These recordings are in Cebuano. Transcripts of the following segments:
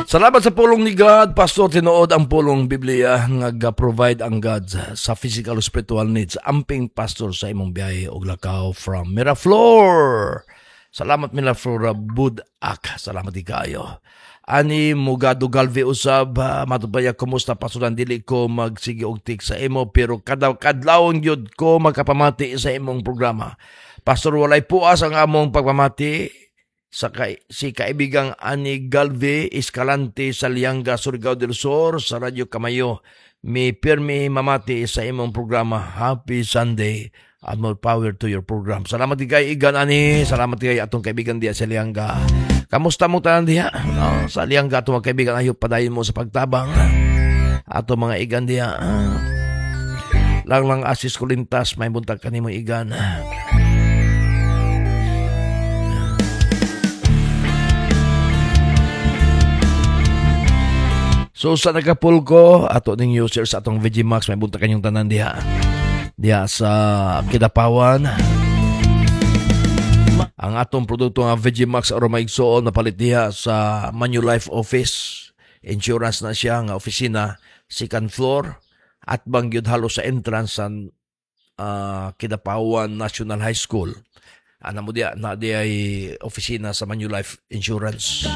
Salamat sa pulong ni God, Pastor, tinuod ang pulong Biblia nga ga-provide ang God sa physical ug spiritual needs. Amping, Pastor, sa imong biyahe og lakaw from Miraflor. Salamat, Miraflor Budak. Salamat di kayo. Ani Mugado Galve usab, matubaya, kumusta, Pastor? Dili ko magsige og tik sa imo pero kada kadlawon gyud ko makapamati sa imong programa. Pastor, walay puas ang among pagpamati sa si kaibigang Ani Galve Escalante sa Lianga, Surigao del Sur, sa Radyo Kamayo. Mi pirmi mamati sa imong programa. Happy Sunday and more power to your program. Salamat di kay Igan Ani. Salamat di kay atong kaibigan diya sa Lianga. Kamusta mo tanan diha? No, sa Lianga atong mga kaibigan, ayo padayon mo sa pagtabang. Ato mga igan diha. Lang lang asis kulintas may buntag kanimo, igan. So sa Nagapulco, ato ning users atong VG Max, may buntag kanyong tanan diha. Diha sa Kidapawan. Ang atong produkto nga VG Max Aroma Igsoon napalit diha sa Manulife Office. Insurance na siya nga opisina, second floor at bangyud halos sa entrance sa Kidapawan National High School. Ana mo diya, na diya ay opisina sa Manulife Insurance.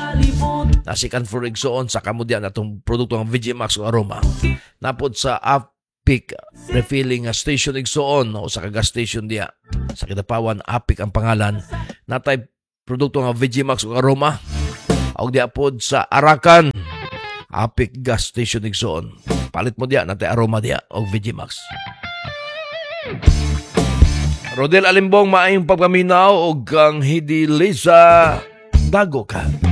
Na second floor igsoon, sa kamo diya na itong produkto ng VG Max o Aroma. Napod sa Apic Refilling Station igsoon o sa gas station diya. Sa Kidapawan, Apic ang pangalan. Natay produkto ng VG Max o Aroma. Og diya pod sa Arakan, Apic Gas Station igsoon. Palit mo diya, natay aroma diya og VG Max. Rodel Alimbong, maayong pagpaminaw og kang Hidi Lisa Dago ka.